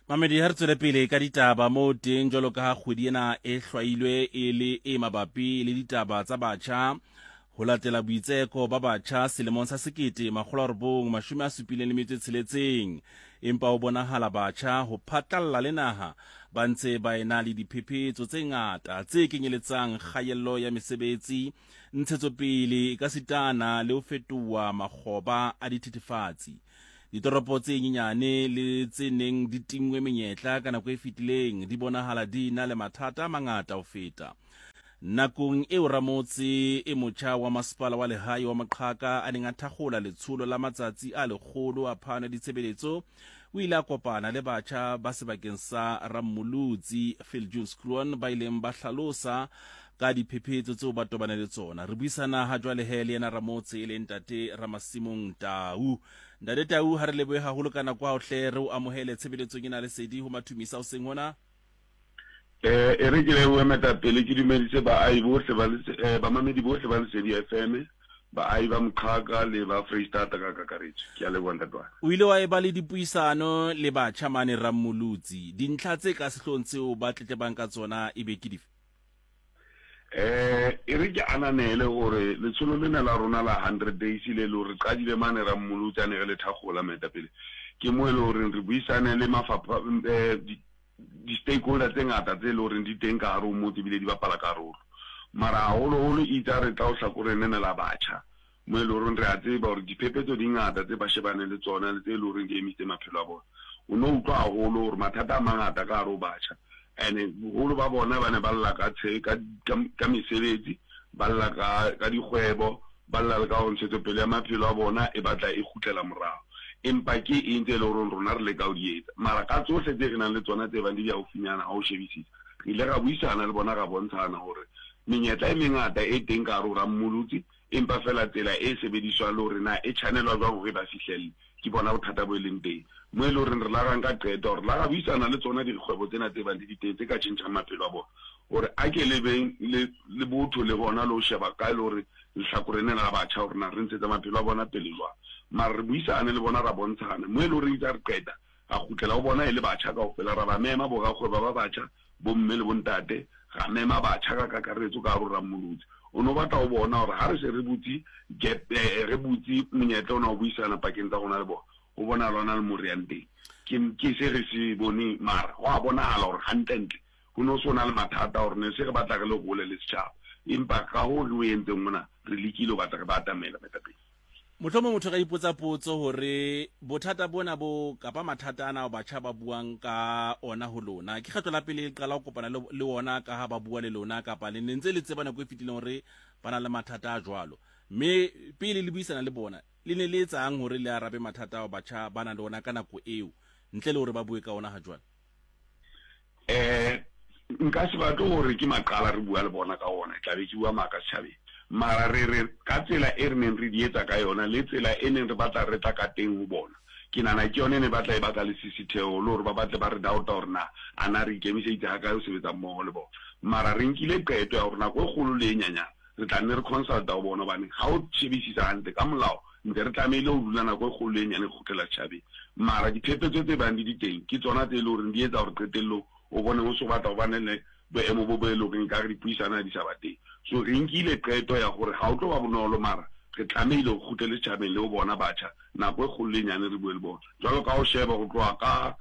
Mamedi, ha re tswele pele ka ditaba moo teng jwalo ka ha kgwedi ena e hlwailwe e le e mabapi le ditaba tsa batjha ho latela boitseko ba batjha selemong sa 1976, empa ho bonahala batjha ho phatlalla le naha ba ntse ba ena le diphephetso tse ngata tse kenyeletsang kgaello ya mesebetsi, ntshetsopele ekasitana le ho fetoha makgoba a dithethefatsi. Ditoropo tse nyenyane le tse neng di tinngwe menyetla ka nako e fetileng di bonahala di na le mathata a mangata ho feta. Nakong eo ramotse e motjha wa masepala wa lehae wa Moqhaka a neng a thakgola letsholo la matsatsi a lekgolo a phano ya ditshebeletso, o ile a kopana le batjha ba sebakeng sa Rammolutsi, Viljoenskroon, ba ileng ba hlalosa ka diphephetso tseo ba tobane le tsona. Re buisana ha jwale he le yena ramotse e leng Ntate Ramasimong Tau. Ntate Tau, ha re lebohe haholo ka nako hao hle, re o amohele tshebeletsong ena lesedi ho Mathumisa hoseng hona. Eh, e re ke lebohe metapele ke dumedise baahi bohle ba eh, bamamedi bohle ba Lesedi FM, baahi ba Moqhaka le ba Freistata ka kakaretso. Ke a leboha ntate wa ka. O ile wa eba le dipuisano le batjha mane Rammolutsi. Dintlha tse ka sehloohong tseo ba tletlebang ka tsona e be ke dife? Eh, e re ke ananele hore letsholo lena la rona la 100 days le le hore re qadile mane Rammolutsi a ne re le thakgola moetapele. Ke mo e le horeng re buisane le mafapha eh, di-stakeholder tse ngata tse le horeng di teng ka hare ho motse ebile di bapala karolo. Mara haholoholo itse ha re tla ho hlakoreng lena la batjha, mo e le horeng re a tseba hore diphephetso di ngata tse ba shebaneng le tsona le tse e le horeng di emisitse maphelo a bona. O no utlwa haholo hore mathata a mangata ka hare ho batjha, and boholo ba bona ba ne ba lla ka ka, ka, ka mesebetsi, ba lla ka, ka dikgwebo, Ba lla le ka hore ntshetsopele ya maphelo a bona e batla e kgutlela morao. Empa ke eng tse e leng hore rona re leka ho di etsa? Mara ka tsohle tse re nang le tsona tse bang di le haufinyana ha o shebisisa, re ile ra buisana le bona ra bontshana hore menyetla e mengata e teng ka hare ho Rammolotsi, empa feela tsela e sebediswang le hore na e tjhanelwa jwang hore e ba fihlelle, ke bona bothata bo e leng teng. Mo e leng hore re la ra nka qeto ya hore la ra buisana le tsona dikgwebo tsena tse bang di di teng tse ka tjhentjhang maphelo a bona, hore a ke le beng le le botho le hona le ho sheba kae le hore lehlakore lena la batjha hore na re ntshetsa maphelo a bona pele jwang. Mara re buisane le bona ra bontshana mo e le hore itse ha re qeta ra kgutlela ho bona e le batjha kaofela, ra ba mema borakgwebo ba batjha, bomme le bontate, ra mema batjha ka kakaretso ka hare ho Rammolotsi. O ne o batla ho bona hore ha re se re butse gap, re butse monyetla ona wa ho buisana pakeng tsa rona le bona, ho bonahala ho na le mo re yang teng. Ke, ke se re se boneng, mara ho a bonahala hore hantlentle ho ne ho se ho na le mathata hore ne se re batla re le hole le setjhaba. Empa ka hoo re o entseng mona, re lekile ho batla re ba atamela moetapele. Mohlomong motho a ka ipotsa potso hore bothata bona bo kapa mathata ana ao batjha ba buang ka ona ho lona, ke kgetlo la pele le qala ho kopana le, le ona ka ha ba bua le lona, kapa le ne ntse le tseba nako e fetileng hore ba na le mathata a jwalo? Mme pele le buisana le bona, le ne le etsang hore le arabe mathata ao batjha ba nang le ona ka nako eo, ntle le hore ba bue ka ona ha jwale? Eh, nka se batle hore ke maqala re bua le bona ka ona, tla be ke bua maaka setjhabeng. Mara re re ka tsela e re neng re di etsa ka yona le tsela e neng re batla re tla ka teng ho bona, ke nahana ke yona e ne batla e baka lesisitheho le hore ba batle ba re doubta hore na a na re ikemiseditse hakae ho sebetsa mmoho le bona. Mara re nkile qeto ya hore nako e kgolo le e nyanyane re tla nne re consulta ho bona, hobane ha o shebisisa hantle ka molao ntse re tlamehile ho dula nako e kgolo le e nyane re kgutlela setjhabeng. Mara diphephetso tse bang di di teng ke tsona tse e le horeng di etsa hore qetellong o bone ho so batla ho bane le boemo bo bo e le horeng ekare dipuisano ha di sa ba teng. So re nkile qeto ya hore ha o tlo ba bonolo, mara re tlamehile ho kgutlele setjhabeng le ho bona batjha nako e kgolo le e nyane re bue le bona. Jwalo ka ho sheba ho tloha ka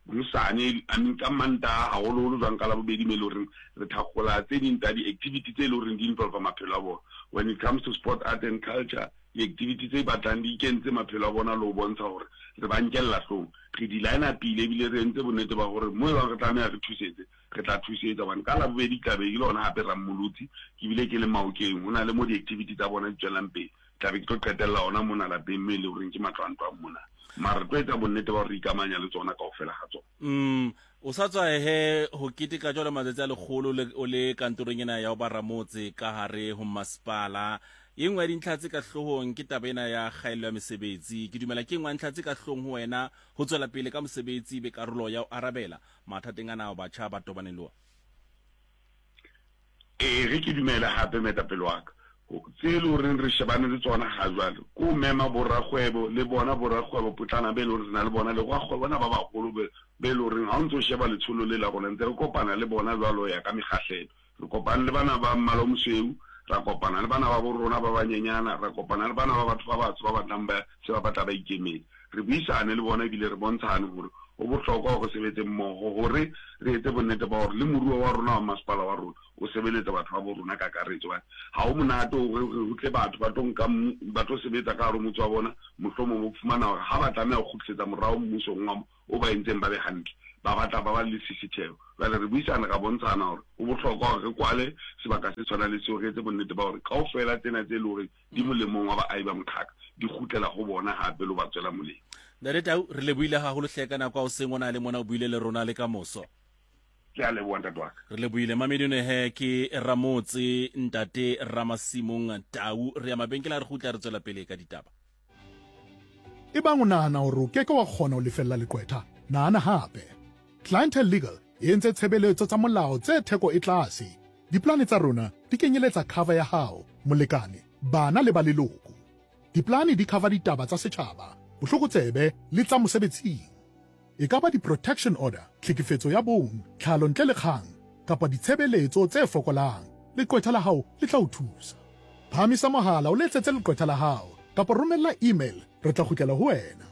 hosane, I mean ka Mantaha haholoholo jwang ka Labobedi mo e le horeng re thakgola tse ding tsa di-activity tse e le horeng di involve maphelo a bona. When it comes to sport, art and culture, di-activity tse batlang di ikentse maphelo a bona le ho bontsha hore re ba nkella hlong. Re di line-upile ebile re entse bonnete ba hore mo e bang re tlameha re thusetse, re tla thusetsa hobane ka Labobedi ke tla be ke le hona hape Rammolotsi, ke bile ke le Maokeng, ho na le mo di-activity tsa bona di tswelang pele. Tla be ke tlo qetella hona mona lapeng mme e le horeng ke matlo a ntlo a mona. Mara re tlo etsa bonnete ba hore re ikamanya le tsona kaofela ga tsona. O sa tswa he ho keteka jwalo matsatsi a lekgolo le o le kantorong ena ya ho ba ramotse ka hare ho masepala. E nngwe ya dintlha tse ka hloohong ke taba ena ya kgaello ya mesebetsi. Ke dumela ke e nngwe ya ntlha tse ka hloohong ho wena ho tswela pele ka mosebetsi e be karolo ya ho arabela mathateng ana ao batjha ba tobaneng le ona. Ee, re ke dumele hape moetapele wa ka. Tse e le horeng re shebane le tsona ha jwale ke ho mema borakgwebo le bona borakgwebo potlana be e le hore re na le bona le borakgwebo bona ba baholo be be e le horeng ha o ntso sheba letsholo le la rona ntse re kopana le bona jwalo ho ya ka mekgahlelo. Re kopane le bana ba mmala o mosweu, ra kopana le bana ba bo rona ba banyenyana, ra kopana le bana ba batho ba batsho ba batlang ba se ba batla ba ikemetse. Re buisane le bona ebile re bontshane hore ho bohlokwa hore re sebetse mmoho hore re etse bonnete ba hore le moruo wa rona wa masepala wa rona o sebeletsa batho ba bo rona kakaretso. Hobane ha ho monate hore ho tle batho ba tlo nka ba tlo sebetsa ka hare ho motse wa bona, mohlomong o fumana hore ha ba tlameha ho kgutlisetsa morao mmusong wa o ba entseng ba be hantle, ba batla ba ba le lesisitheho. Jwale re buisane ra bontshana hore ho bohlokwa hore re kwale sebaka se tshwanang le seo, re etse bonnete ba hore kaofela tsena tse leng hore di molemong wa baahi ba Moqhaka di kgutlela ho bona hape le ho ba tswela molemo. Ntate Tau, re lebohile haholo hle ka nako ya hoseng o na le mona o buile le rona le ka moso. Ke a leboha ntate wa ka. Re lebohile Mamedune he ke Ramotse ntate Ramasimong Tau. Re ya mabenkele a re kgutla re tswela pele ka ditaba. Ebang o nahana hore o keke wa kgona ho lefella leqwetha, nahana hape. Clientele Legal e entse tshebeletso tsa molao tse theko e tlase. Diplane tsa rona di kenyeletsa cover ya hao, molekane, bana le ba leloko. Diplane di cover ditaba tsa setjhaba, bohlokotsebe le tsa mosebetsing. E ka ba di-protection order, tlhekefetso ya bong, tlhalo ntle le kgang, kapa ditshebeletso tse fokolang, leqwetha la hao le tla o thusa. Phahamisa mohala o letsetse leqwetha la hao kapa romella email re tla kgutlela ho wena.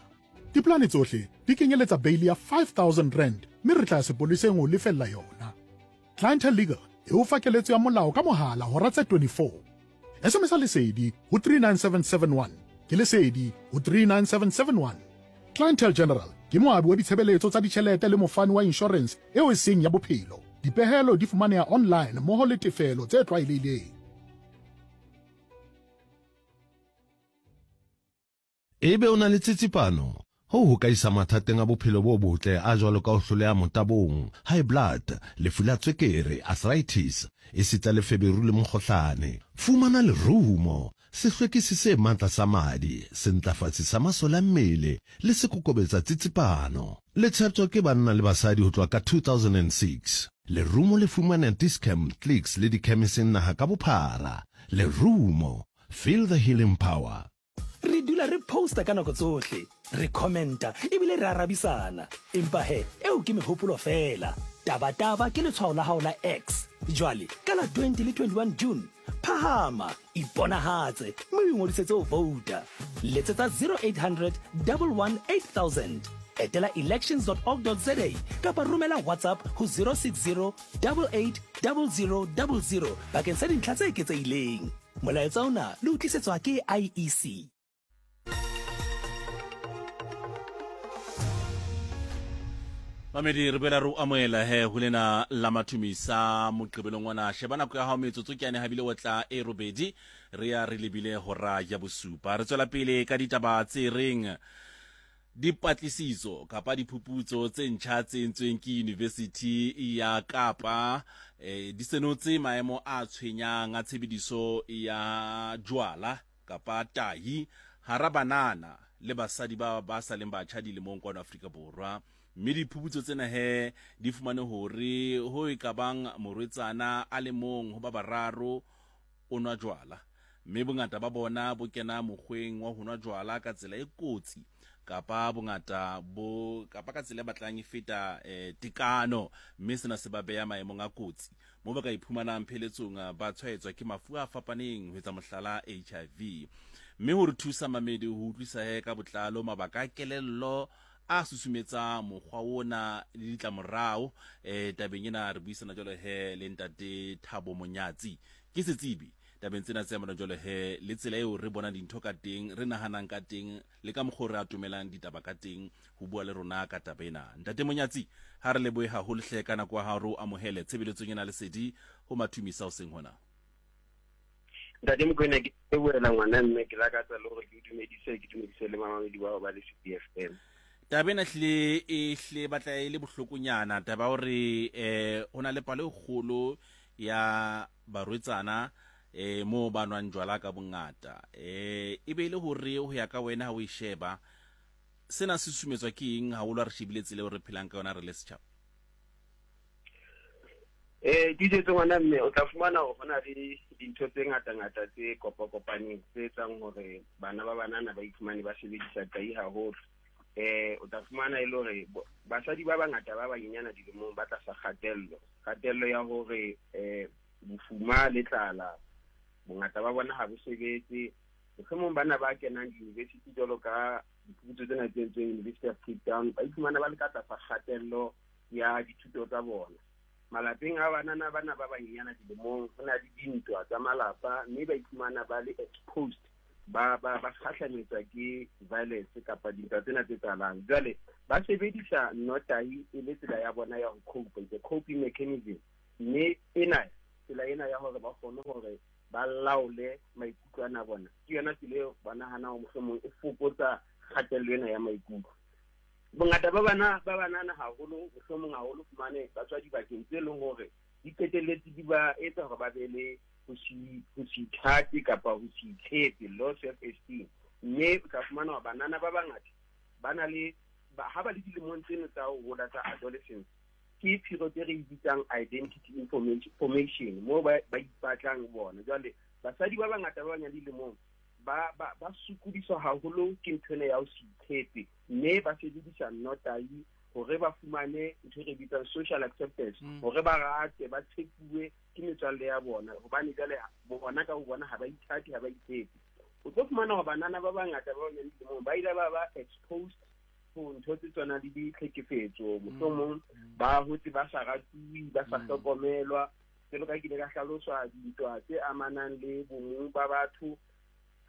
Dipolane tsohle di kenyeletsa beili ya R5000 mme re tla ya sepoleseng ho o lefella yona. Clientele Legal e o fa keletso ya molao ka mohala hora tse 24. SMS-a Lesedi ho 39771. Ke Lesedi ho 39771. Clientele General ke moabi wa ditshebeletso tsa ditjhelete le mofani wa inshorense eo e seng ya bophelo. Dipehelo di fumaneha online mmoho le tefelo tse tlwaelehileng. Ebe o na le tsitsipano? Hoo ho ka isa mathateng a bophelo bo botle a jwalo ka ho hloleha motabong, high blood, lefu la tswekere, arthritis, esita le feberu le mokgohlane. Fumana lerumo, sehlwekisi se matla sa madi, sentlafatsi sa masole a mmele le sekokobetsa tsitsipano. Le tsheptjwa ke banna le basadi ho tloha ka 2006. Lerumo le fumaneha Dis-Chem, Clicks le dikhemising naha ka bophara. Lerumo, feel the healing power. Re dula re posta ka nako tsohle, re commenta ebile re arabisana. Empa he, eo ke mehopolo feela. Tabataba ke letshwao la hao la X. Jwale, ka la 20 le 21 June, phahama, iponahatse mme o ingodisetse ho vouta. Letsetsa 0800 11 8000. Etela elections.org.za kapa romela WhatsApp ho 060 88 00 00 bakeng sa dintlha tse eketsehileng. Molaetsa ona le o tlisetswa ke IEC. Mamedi re boela re o amohela he ho lena la mathumisa moqebelong ona. Sheba nako ya hao metsotso ke yane habile o tla e robedi re ya re lebile hora ya bosupa. Re tswela pele ka ditaba tse reng Dipatlisiso kapa diphuputso tse ntjha tse entsweng ke Yunivesithi ya Kapa eh, di senotse maemo a tshwenyang a tshebediso ya jwala kapa tahi hara banana le basadi ba ba sa leng batjha dilemong kwano Afrika Borwa. Mme diphuputso tsena he di fumane hore ho e ka bang morwetsana a le mong ho ba bararo o nwa jwala, mme bongata ba bona bo kena mokgweng wa ho nwa jwala ka tsela e kotsi kapa bongata bo kapa ka tsela e batlang e feta eh, tekano, mme sena se ba beya maemong a kotsi mo ba ka iphumanang pheletsong eh, ba tshwaetswa ke mafu a fapaneng, ho etsa mohlala HIV. Mme ho re thusa mamedi ho utlwisa he ka botlalo mabaka a kelello a susumetsa mokgwa ona le ditlamorao eh, tabeng ena re buisana jwalo he le ntate Thabo Monyatsi ke setsebi tabeng tsena tse amanang jwalo he le tsela eo re bonang dintho ka teng, re nahanang ka teng le ka mokgwa o re atomelang ditaba ka teng ho bua le rona ka taba ena. Ntate Monyatsi, ha re lebohe haholo hle ka nako ya hao, re o amohele tshebeletsong ena lesedi ho Mathumisa hoseng hona. Ntate Mokoena, ke lebohela ngwana mme ke lakatsa le hore ke o dumedise, ke dumedise le mamamedi bao ba Lesedi FM. Taba ena hlile e hle batla e le bohlokonyana, taba ya hore eh ho na le palo e kgolo ya barwetsana eh moo ba nwang jwala ka bongata. Eh e be e le hore ho ya ka wena ha o e sheba sena se susumetswa ke eng haholo ha re shebile tsela eo re phelang ka yona re le setjhaba? Eh DJ ngwana mme o tla fumana hore hona le dintho tse ngata-ngata tse kopa-kopaneng tse etsang hore bana ba banana ba iphumane ba sebedisa tai haholo. O tla fumana e le hore basadi ba bangata ba banyenyana dilemong ba tlasa kgatello. Kgatello ya hore bofuma le tlala bongata ba bona ha bo sebetse. Mohlomong bana ba kenang di-university jwalo ka diphuputso tsena tse entsweng University of Cape Town ba iphumana ba le ka tlasa kgatello ya dithuto tsa bona. Malapeng a banana bana ba banyenyana dilemong ho na le dintwa tsa malapa mme ba iphumana ba le exposed, ba kgahlametswa ke violence kapa dintwa tsena tse tsalang. Jwale ba sebedisa nnotahi e le tsela ya bona ya ho cope, it's a coping mechanism, mme ena tsela ena ya hore ba kgone hore ba laole maikutlo ana a bona ke yona tsela eo ba nahanang hore mohlomong e fokotsa kgatello ena ya maikutlo. Bongata ba bana ba banana haholo mohlomong haholo fumane ba tswa dibakeng tse leng hore di qetelletse di ba etsa hore ba be le ho se ithate kapa ho se itshepe, low self esteem. Mme o tla fumana hore banana ba bangata ba na le ha ba le dilemong tseno tsa ho hola tsa adolescence, ke period e re e bitsang identity formation, moo ba ipatlang bona. Jwale basadi ba bangata ba banyane dilemong ba sokodiswa haholo ke ntho ena ya ho se itshepe, mme ba sebedisa nnotahi hore ba fumane ntho e re bitsang social acceptance, hore ba rate, ba tshepuwe ke metswalle ya bona, hobane jwale bona ka bo bona ha ba ithate, ha ba itshepe. O tlo fumana hore banana ba bangata ba banyane dilemong ba ile ba ba exposed ho ntho tse tshwanang le ditlhekefetso, mohlomong ba hotse ba sa ratuwe, ba sa hlokomelwa. Jwalo ka ke ile ka hlaloswa dintwa tse amanang le bomong ba batho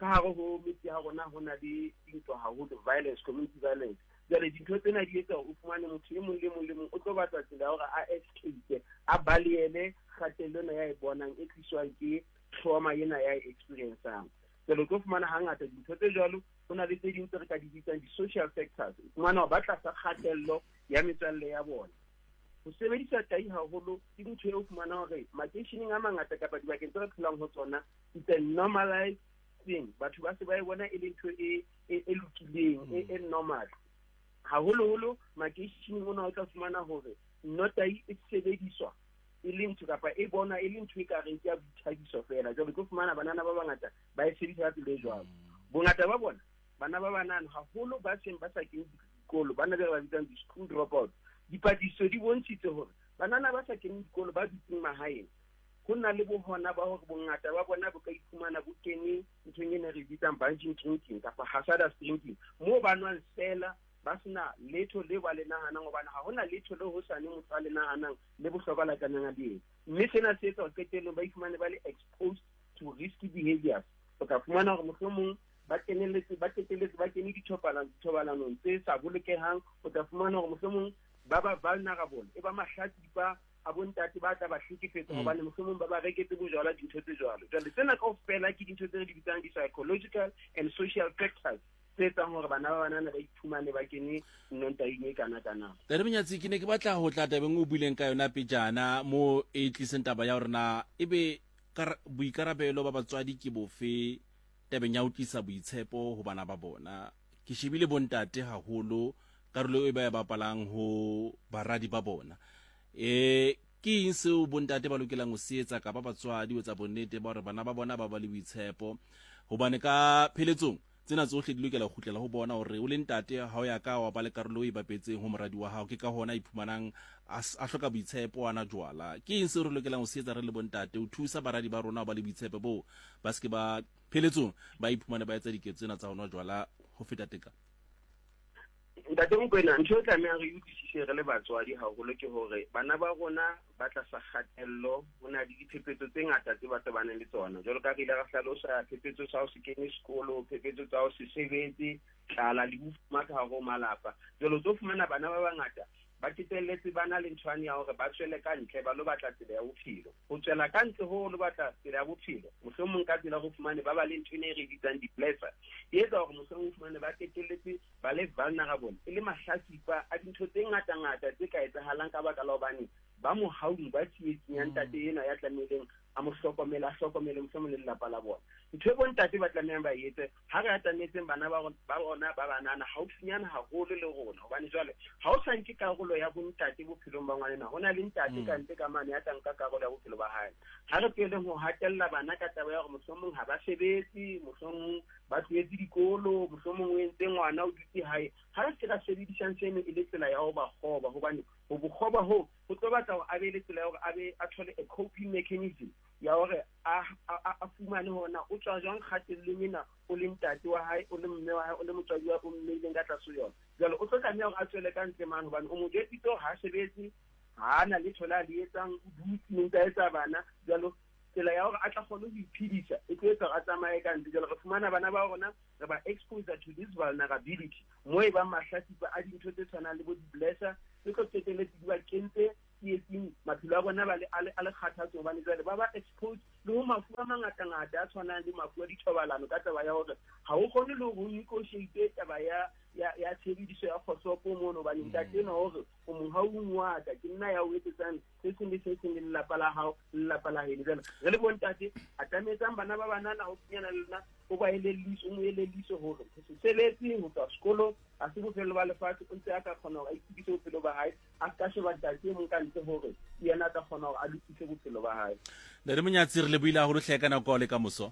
ka hare ho metse ya rona, ho na le dintwa haholo, violence, community violence. Jwale dintho tsena di etsa hore o fumane motho e mong le mong le mong o tlo batla tsela ya hore a escape, a balehele kgatello ena ya e bonang e tliswang ke trauma ena ya e experiencang. Jwale o tlo fumana hangata dintho tse jwalo, ho na le tse ding tse re ka di bitsang di-social factors. O fumana hore ba tlasa kgatello ya metswalle ya bona. Ho sebedisa tai haholo ke ntho eo fumana hore makeisheneng a mangata kapa dibakeng tse re phelang ho tsona, it's a normalized thing. Batho ba se ba e bona e le ntho e lokileng, e normal. Haholoholo makeisheneng ona o tla fumana hore nnotahi e sebediswa e le ntho kapa e bona e le ntho e ka reng ke ya boithabiso feela. Jwale tlo fumana banana ba bangata ba e sebedisa ka tsela e jwalo. Bongata ba bona bana ba banana haholo ba seng ba sa kene dikolo, bana ba ba bitsang di-school dropouts. Dipatlisiso di bontshitse hore banana ba sa keneng dikolo ba dutseng mahaeng, ho na le bohona ba hore bongata ba bona bo ka iphumana bo kene nthong e ne re bitsang binge drinking kapa hazardous drinking, moo ba nwang feela ba sena letho le ba le nahanang, hobane ha hona letho le hosane motho a le nahanang le bohlokwa la tlamehang a le etse. Mme sena se etsa hore qetellong ba iphumane ba le exposed to risky behaviors. O tla fumana hore mohlomong ba kenelletse, ba qetelletse ba kene dithobalanong tse sa bolokehang. O tla fumana hore mohlomong ba ba vulnerable, e ba mahlatsipa a bontate ba tla ba hlekefetsa, hobane mohlomong ba ba reketse bojwala, dintho tse jwalo. Jwale tsena kaofela ke dintho tse re di bitsang di-psychological and social factors tse etsang hore bana ba banana ba iphumane ba kene nnotahing e kana-kana. Ntate Monyatsi, ke ne ke batla ho tla tabeng o buileng ka yona pejana mo e tliseng taba ya hore na ebe boikarabelo ba batswadi ke bofe tabeng ya ho tlisa boitshepo ho bana ba bona. Ke shebile bontate haholo karolo e ba e bapalang ho baradi ba bona. Ke eng seo bontate ba lokelang ho se etsa kapa batswadi ho etsa bonnete ba hore bana ba bona ba ba le boitshepo? Hobane ka pheletsong tsena tsohle di lokela ho kgutlela ho bona hore o le ntate ha o ya ka wa ba le karolo e bapetseng ho moradi wa hao. Ke ka hona iphumanang a hloka boitshepo, a na jwala. Ke eng seo re lokelang ho se etsa re le bontate ho thusa baradi ba rona ho ba le boitshepo boo, ba se ke ba pheletsong ba iphumane ba etsa diketso tsena tsa ho nwa jwala ho feta tekano? Ntate Mokoena, ntho e tlamehang re utlwisise re le batswadi haholo ke hore bana ba rona ba tlasa kgatello. Ho na le diphephetso tse ngata tse ba tobaneng le tsona. Jwalo ka re ile ra hlalosa, phephetso tsa ho se kene sekolo, phephetso tsa ho se sebetse, tlala le bofuma ka hare ho malapa. Jwale o tlo fumana bana ba bangata ba qetelletse ba na le nthwane ya hore ba tswele ka ntle ba lo batla tsela ya bophelo. Ho tswela ka ntle ho lo batla tsela ya bophelo, mohlomong ka tsela ho fumane ba ba le ntho ena e re bitsang di-blesser, e etsa hore mohlomong o fumane ba qetelletse ba le vulnerable, e le mahlatsipa a dintho tse ngata-ngata tse ka etsahalang ka baka la hobane ba mohaung, ba tsietsing ya ntate enwa ya tlamehileng a mo hlokomele, a hlokomele mohlomong le lelapa la bona. Ntho e bontate ba tlamehang ba etse ha re atametseng bana ba rona ba banana haufinyana haholo le rona, hobane jwale ha o sa sa nke karolo ya bontate bophelong ba ngwanena, ho na le ntate ka ntle ka mane ya tla nka karolo ya bophelo ba hae. Ha re tlohelleng ho hatella bana ka taba ya hore mohlomong ha ba sebetse, mohlomong ba tlohetse dikolo, mohlomong o entse ngwana o dutse hae. Ha re se ra sebedisang seno e le tsela ya ho ba kgoba, hobane ho bokgoba hoo ho tlo batla hore a be le tsela ya hore a be a thole a coping mechanism ya hore a, a, a fumane hore na o tswa jwang kgatellong ena o le ntate wa hae, o le mme wa hae, o le motswadi wa o mmeileng ka tlase ho yona. Jwale o tlo tlameha hore a tswele ka ntle mane hobane o mo jwetsitse hore ha a sebetse, ha a na letho le a le etsang, o dutse o ntse a etsa bana. Jwalo tsela ya hore a tla kgone ho iphedisa e tlo etsa hore a tsamaye ka ntle. Jwale re fumana bana ba rona re ba expose to this vulnerability mo e bang mahlatsipa a dintho tse tshwanang le bo di-blesser tse tlo qetelletse di ba kentse tsietsing, maphelo a bona ba le a le kgathatso hobane jwale ba ba exposed le ho mafu a mangatangata a tshwanang le mafu a dithobalano ka taba ya hore ha o kgone le hore o negotiate taba ya ya ya tshebediso ya kgohlopo mono hobane ntate enwa hore o mohaung wa ka, ke nna ya o etsetsang se seng le se seng le lelapa la hao le lelapa la heno. Jwale re le bontate, atametsang bana ba banana haufinyana le lona, o ba elelliswe, o mo elelliswe hore ho se sebetse ho tswa sekolong ha se bofelo ba lefatshe, o ntse a ka kgona hore a itukise bophelo ba hae, a se ka sheba ntate e mong ka ntle hore ke yena a ka kgona hore a lokise bophelo ba hae. Ntate Monyatsi, re lebohile haholo hle ka nako le ka moso.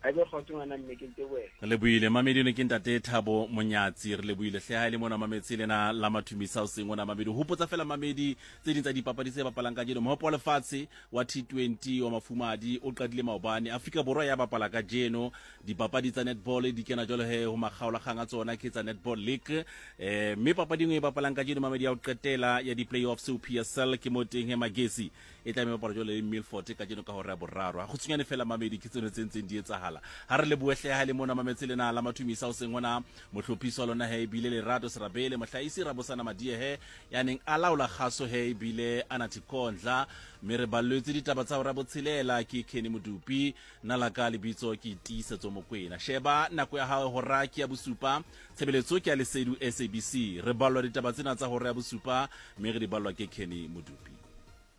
A be kgotso ngwana mme, ke ntebohela. Re lebohile mamedi ne ke ntate Thabo Monyatsi, re lebohile hle ha e le mona mametse lena la Mathumisa o seng ona mamedi. Hopotsa fela mamedi tse ding tsa dipapadi tse bapalang kajeno. Mohope wa lefatshe wa T20 wa mafumadi o qadile maobane. Afrika Borwa ya bapala kajeno. Dipapadi tsa netball di kena jwalo he ho makgaolakgang a tsona ke tsa Netball League. Eh mme papadi e nngwe e bapalang kajeno mamedi ya ho qetela ya di-playoffs ho PSL ke mo teng he Magesi e tla be bapala jwale le Milford kajeno ka hora ya boraro. Ha kgutshwanyane fela mamedi ke tseno tse ntseng di etsahala. Ha re lebohe hle ha e le mona mametse lena la Mathumisa o seng hona mohlophisi wa lona he ebile Lerato Serabele, mohlahisi Rabosana Madiehe ya neng a laola kgaso he ebile Anathi Kondla, mme re ballwetse ditaba tsa hora ya botshelela ke Kenny Modupi. Nna la ka lebitso ke Tiisetso Mokwena. Sheba nako ya hao hora ke ya bosupa. Tshebeletso ke ya Lesedu SABC. Re ballwa ditaba tsena tsa hora ya bosupa mme re di ballwa ke Kenny Modupi.